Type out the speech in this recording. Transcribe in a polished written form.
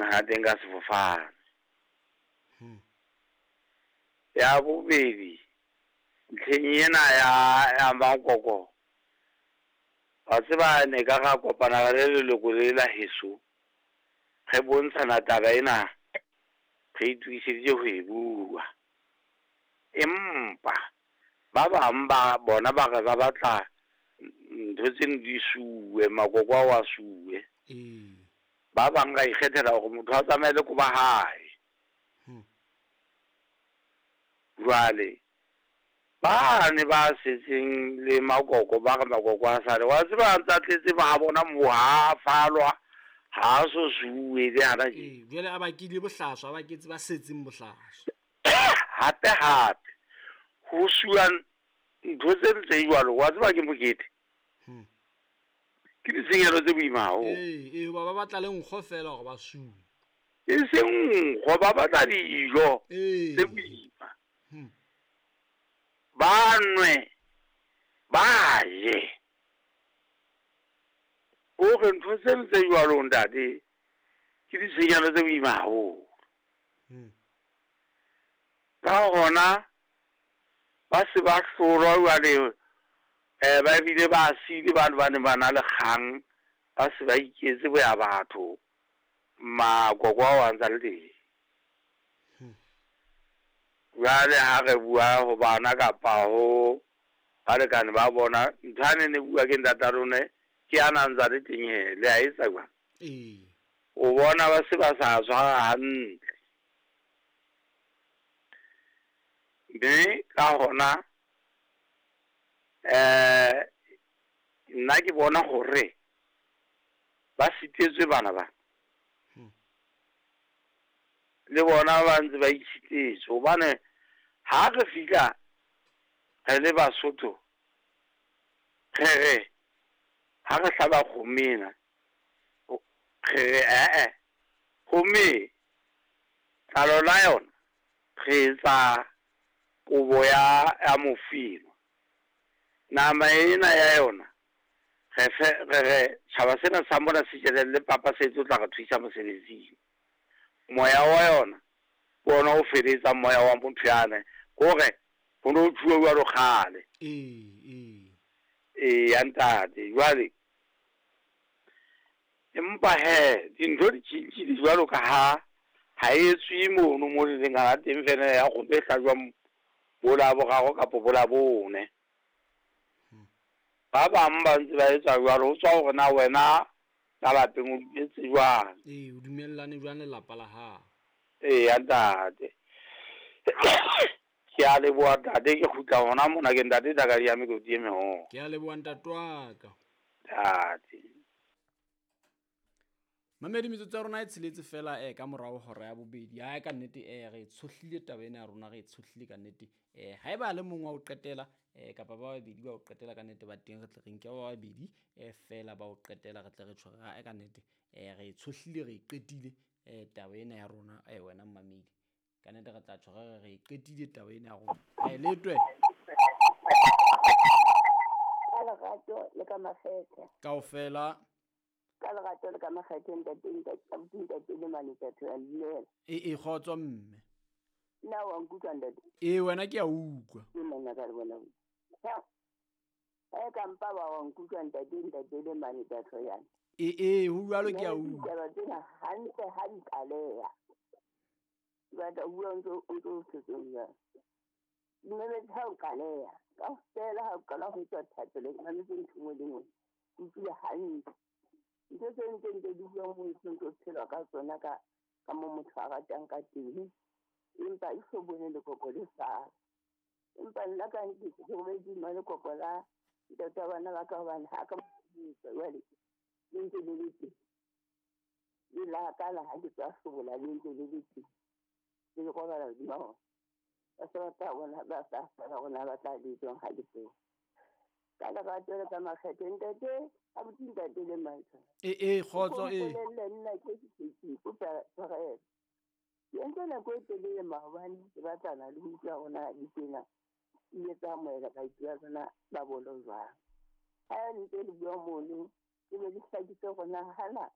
leng ha teng ka sefofane. Ya bobedi, ntlheng ena ya makoko, wa tseba ne ka ra kopana le leloko le la heso, re bontshana taba ena, re itokiseditse ho e bua. Empa ba bang ba bona ba re ba batla ntho tseno di suwe, makoko ao a suwe. Ba bang ra ikgethela hore motho a tsamaye le koba hae. Jwale ba ne ba setseng le makoko ba re makoko a sale, wa tseba a ntsa tletse ba bona moo ha falwa, ha so suwe le hana tje. Ee, jwale a bakile bohlaswa, a baketse ba setseng bohlaswa. Hape hape ho suwa ntho tse tse jwalo, wa tseba ke mokete. Ke ditshenyehelo tse boima haholo. Ee, ee, hoba ba batla le nkgo fela hore ba suwe. E seng nkgo, ba batla dijo tse boima. Ba nwe, ba je. Hore ntho tseno tse jwalo ntate, ke ditshenyehelo tse boima haholo. Ka hona ba se ba hlolwa jwale, ba bile ba siile bane ba neng ba na le kgang, ba se ba iketse boya batho, makoko ao a ntsa le teng. Jwale ha re bua ho bana kapa ho balekane ba bona, ntho ane ne bua ke ntata lone, ke ana ntsa le teng he, le a etsa jwang? O bona ba se ba sa tshwara hantle. Mme ka hona nna ke bona hore ba sitetswe bana ba. Le bona ba ntse ba itshitetswe hobane ha re fihla re le Basotho, re re ha re hlaba kgomo ena, re re eh kgomo e tlalo la yona re etsa kobo ya mofino. Nama ena ya yona re fe re re tjhaba sena sa mona se jelelle papa se tlo tla re thusa mosebetsing. Moya wa yona ke ona o feletsang moya wa motho yane, hore ho no tjhuwa jwalo kgale. Ee. Ee ya ntate, jwale empa he dintho di tjhentjhile jwalo ka ha ha e etswe mono mo le leng hana teng fela ya kgomo e hlajwang bo Laboraro kapa bo Labone. Ba bang ba ntse ba etsa jwalo, ho tswa hore na wena ka lapeng o dumetse jwang. Ee, o dumellane jwang lelapa la hao. Ee ya ntate. Ke a leboha ntate, ke kgutla hona mona ke ntate Thakadiya mekoti e meholo. Ke a leboha ntate wa ka. Ntate. Mamedi metsotso ya rona e tsheletse fela ka morao hora ya bobedi. Hae ka nnete re tshohlile taba ena ya rona, re tshohlile ka nnete. Haeba le mong wa ho qetela kapa ba babedi ba ho qetela ka nnete ba teng, re tle re nke ba babedi fela ba ho qetela, re tle re tjho re ka nnete re tshohlile, re qetile taba ena ya rona wena mmamedi. Ka nnete re tla tjho re re qetile taba ena ya rona. Letwe. Ka lerato le ka makgethe. Kaofela. Ka lerato le ka makgethe ntate, ntate, ntate le mane ntate ya dumela. Ee, kgotso mme. Nna wa nkutlwa ntate? Ee, wena ke a utlwa. Ke nna ka le bona. Ha ka mpa ba wa nkutlwa ntate, ntate le mane ntate ya. Ee, ho jwalo ke a utlwa. Ditaba tsena hantle ha di qaleha. Batla bua ntso o ntso setsong ya. Mme ha o qaleha, kaofela ha o qala ho tswa thapelo, mametse ntho nngwe le nngwe. Utlwile hantle. Ntho tse ntse di bua mo ntse phelwa ka tsona ka mo motho a ratang ka teng. Empa e so bone lekoko le sa. Empa nna ka nnete ke robetse mo lekoko la ntate wa bana ba ka hobane ha ka jwale le ntse le le teng. Le la ka la ha ke tswa hlobola le ntse le le teng. Le robala hodima hona. Ba se ba tla bona, ba sa fela rona ba tla le tswang ha le teng. Ka lerato le ka makgethe ntate, abuti ntate le mantswe. Ee, kgotso ee. Ke nna ke ke kopa tshwarelo. Ke entse nako e telele maobane ke batlana le ho utlwa rona ditsena. Ile tsa amohela baeti ba rona ba bolo jwang. Ha ntse le bua mono, ke be le hlakise hore na hana